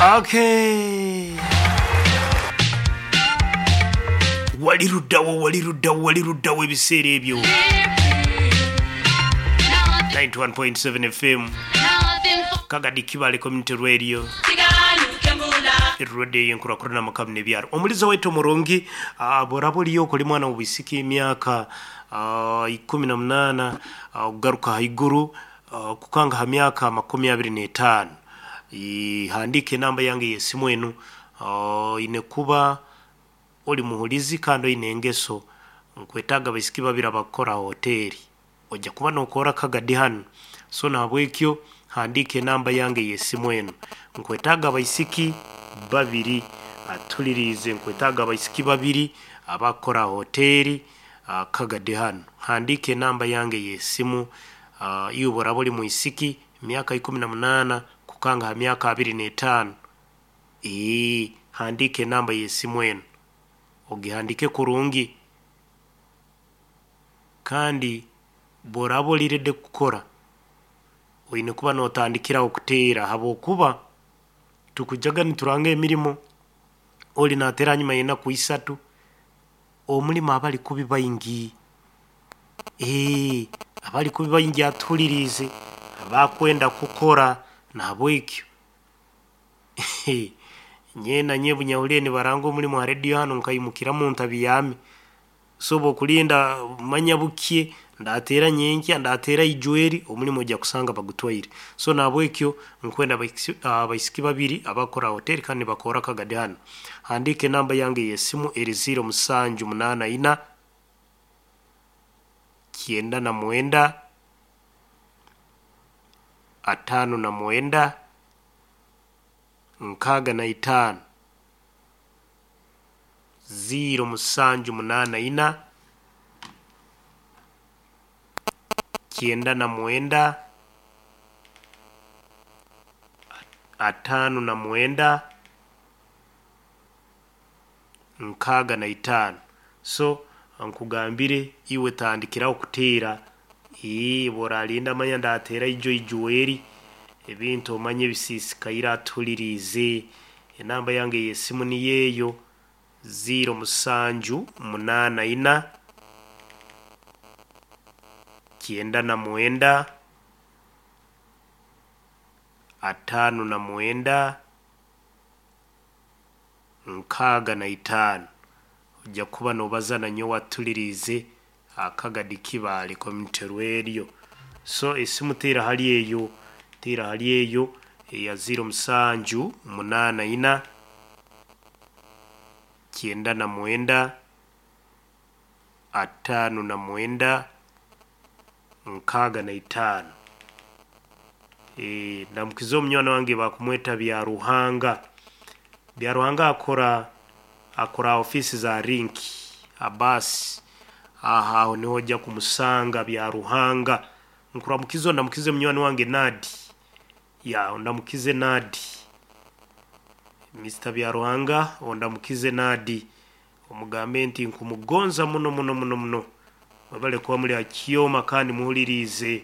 Okay. Wali luddawo, wali luddawo, wali luddawo ebiseera ebyo. 91.7 FM Kagadi Kibale Community Radio Radio yenkurakurana amakamu n'ebyaro. Omuliza waitu omurungi, bworaba oriyo okuli mwana w'obwisiki emyaka 18 okugaruka haiguru kukanga ha myaka 25, handiika enamba yange ey'esimu enu. Oine kuba oli muhulizi kandi oine engeso. Nkwetaaga abaisiki babiri abakukora ha hoteeri. Ojja kuba nookora Kagadi hanu. So nahabwekyo handiika enamba yange ey'esimu enu. Nkwetaaga abaisiki babiri, atuliriize, nkwetaaga abaisiki babiri abakukora ha hoteeri Kagadi hanu. Handiika enamba yange ey'esimu. Iwe bworaba oli mwisiki emyaka 18 kukanga ha myaka 25, handiika enamba y'esimu enu. Ogihandiike kurungi. Kandi bworaba oli ready kukora, oine kuba nootandikiraho kuteera habwokuba tukujaga nituranga emirimo, oli naateera hanyuma y'enaku isatu, omulimo abali kubi baingi. Abali kubi baingi atuhuliriize abakwenda kukora, nahabwekyo nyowe na nyowe obu nahuliire nibaranga omulimo ha radio hanu nkaimukiramu ntabiyaame. So obu okulinda manya bukye, ndateera nyenkya, ndateera ijweri, omulimo ojja kusanga bagutwaire. So nahabwekyo nkwenda abaisiki babiri abakukora ha hoteeri kandi nibakorra Kagadi hanu. Handiika enamba yange ey'esimu eri 0784 99 59 65, 0784 99 59 65. So nkugambire iwe tandikiraho kuteera. Obu oralinda manya ndateera ijo ijweri, ebintu omanye bisiisikaire atuhuliriize. Enamba yange ey'esimu niyo eyo 0784 99 59 65. Ojja kuba noobaza nanyowe atuliriize Kagadi Kibale Community Radio. So esimu teera hali eyo, teera hali eyo eya 0784 99 59 65. Ndamukize omunywani wange bakumweta Byaruhanga. Byaruhanga akora ha ofiisi za Link Abasi. Aho aho niho ojja kumusanga Byaruhanga. Nkuramukize ondamukize munywani wange Nadi. Ya ondamukize Nadi. Mr. Byaruhanga ondamukize Nadi. Omugambe nti nkumugonza muno muno muno muno. Mwebale kuba muli ha kyoma kandi muhuliriize.